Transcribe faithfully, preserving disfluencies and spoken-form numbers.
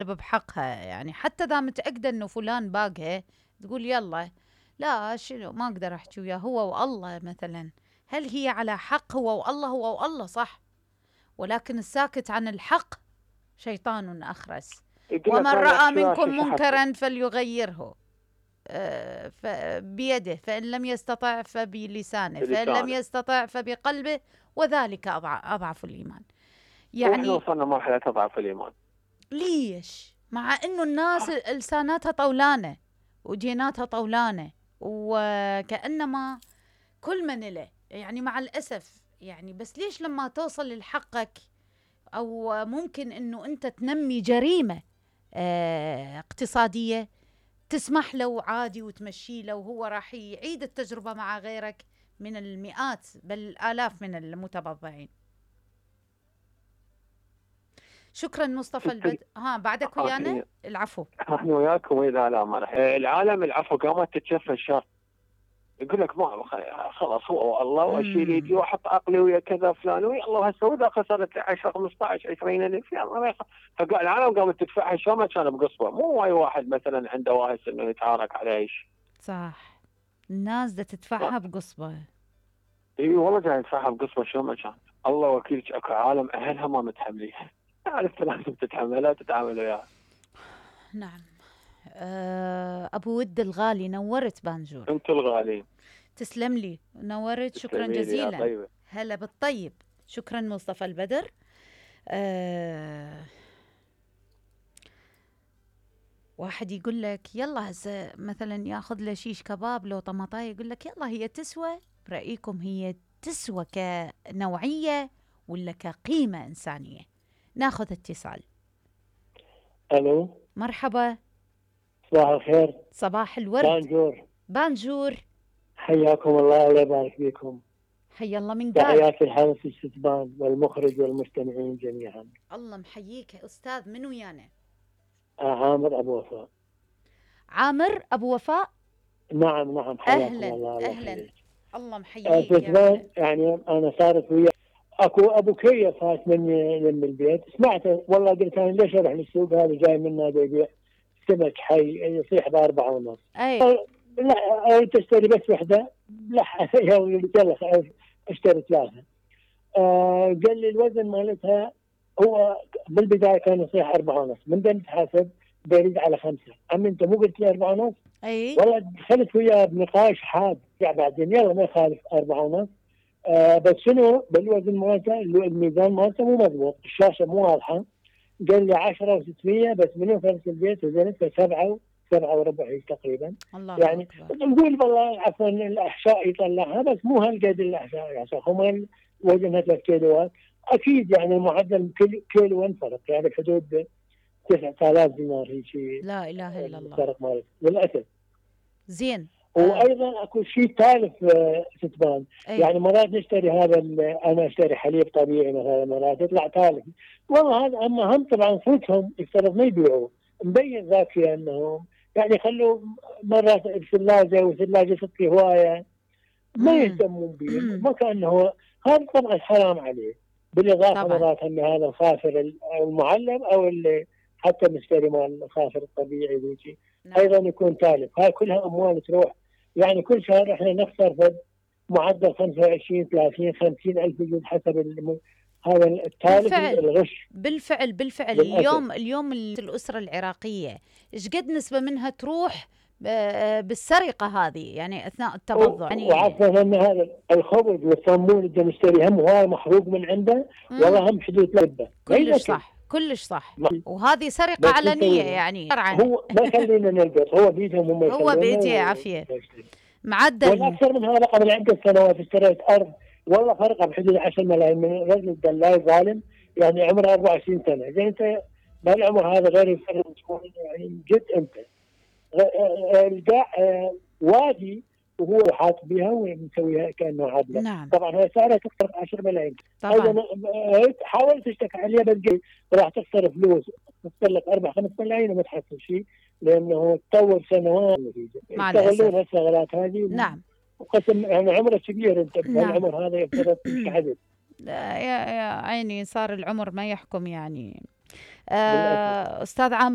بحقها، يعني حتى إذا متأكدة إنه فلان باقها تقول يلا لا شنو ما أقدر أحكي وياه هو والله مثلا. هل هي على حق؟ هو والله هو والله صح، ولكن الساكت عن الحق شيطان أخرس. ومن رأى منكم منكرا فليغيره آه بيده، فإن لم يستطع فبلسانه، فإن لم يستطع فبقلبه، وذلك أضعف الإيمان. يعني احنا وصلنا مرحلة أضعف الإيمان. ليش؟ مع إنه الناس لساناتها طولانة وجيناتها طولانة، وكأنما كل من له يعني مع الأسف يعني. بس ليش لما توصل لحقك أو ممكن إنه أنت تنمي جريمة اه اقتصادية تسمح له عادي وتمشي له، وهو راح يعيد التجربة مع غيرك من المئات بل الآلاف من المتبضعين. شكرا مصطفى البد. ها بعدك ويانا؟ العفو. احنا وياكم واذا لا ما راح العالم العفو قامت تتشفى الشر. يقول لك ما خلاص هو الله واشيل يدي واحط عقلي ويا كذا فلان ويا الله هسه واذا خسرت عشرة خمسطعش عشرين الف يلا العالم قامت تدفعها شو ما كان بقصبه. مو واي واحد مثلا عنده واهس انه يتعارك على ايش. صح، الناس دا تدفعها بقصبه. اي والله جاي تدفعها بقصبه شو ما كان. الله وكيلك اكو عالم اهلها ما متحمليها. عرفت لازم تتحملها تتعامل وياها. نعم. أه أبو ود الغالي نورت بانجور. أنت الغالي. تسلم لي نورت. شكرا جزيلا. هلا بالطيب. شكرا مصطفى البدر. أه واحد يقول لك يلا هسه مثلا ياخذ له شيش كباب لو طماطايه يقول لك يلا هي تسوى برأيكم هي تسوى كنوعية ولا كقيمة إنسانية؟ ناخذ اتصال. الو مرحبا. صباح الخير. صباح الورد. بانجور. بانجور. حياكم الله الله يبارك فيكم. حيا الله من قال. تحياتي الحارس الشتبان والمخرج والمستمعين جميعا. الله محييك يا أستاذ. من ويانا؟ آه عامر أبو وفاء. عامر أبو وفاء. نعم نعم حياكم أهلا الله. أهلا الله, الله محييك. آه يعني أنا صارت ويا اكو ابو كيه فات مني من البيت سمعته والله قلت انا ليش اروح للسوق هذا جاي منه يبيع سمك حي يصيح باربعه ونص. اي لا تشتري بس وحده لا يلا اشتري ثلاثه. آه قال لي الوزن مالتها هو بالبدايه كان يصيح أربعة ونص من دام تحاسب بيريد على خمسه. عمي انت مو قلت لي أربعة ونص؟ اي والله دخلت وياه بنقاش حاد يعني بعدين يلا ما يخالف أربعة ونص. آه بس شنو بالوزن مالته الميزان مالته مو مضبوط الشاشه مو واضحه. قال لي عشرة وستمية بس من يوم فرس البيت وزنته سبعة سبعة وربع تقريبا. الله يعني نقول والله عفوا الاحشاء يطلعها بس مو هالقد الاحشاء يعني هم وزنها ثلاث كيلوات اكيد يعني المعدل كل كيلو فرق يعني حدود تسعة آلاف دينار هيك. لا اله الا الله. فرق مالته للاسف. زين. وايضا اكو شيء ثالث ستبان. أي. يعني مرات نشتري هذا انا اشتري حليب طبيعي مثلا مرات يطلع ثالث والله هذا اما هم طبعا صوتهم يفترض ما يبيعوا مبين ذاك انهم يعني يخلوا مرات بثلاجه وثلاجه تطفي هوايه ما يهتمون به ما كانه هذا طبعا حرام عليه. بالاضافه طبعا. مرات هم هذا الخافر المعلب او اللي حتى مشتري مال الخافر الطبيعي ذيك ايضا يكون تالف. هاي كلها اموال تروح يعني كل شهر احنا نخسر في معدل خمسة وعشرين ثلاثين خمسين الف جنيه حسب الم... هذا التالف الغش. بالفعل بالفعل بالأسف. اليوم اليوم الاسره العراقيه ايش قد نسبه منها تروح بالسرقه هذه يعني اثناء التبضع يعني. وعفوا ان هذا الخبز والصمون اللي نشتريه هم هواي محروق من عنده والله هم حدود لبه. كلش صح كلش صح. وهذه سرقه علنيه يعني. هو ما خلينا نلبس هو بيدهم هم هو بيدي عافيه. معدل والاكثر من هذا قبل عده سنوات اشتريت ارض والله فرقه بحدود عشرة ملايين من رجل دلاي ظالم يعني عمره أربعة وعشرين سنه. زين انت بهالعمر هذا غير يفرق يعني جد انت القاع وادي وهو حاط بها ومسويها كانه عدله. نعم. طبعا هي سعرها تخسر عشرة ملايين. طبعا حاولت تشتكي عليها بس راح تخسر فلوس تخسر لك أربعة خمس ملايين وما تحصل شيء لانه تطور سنوات يستغلون هالشغلات هذه. نعم. وقسم يعني عمره كبير انت بهالعمر هذا يفترض تحدث. يا يا عيني صار العمر ما يحكم يعني. آه استاذ عامر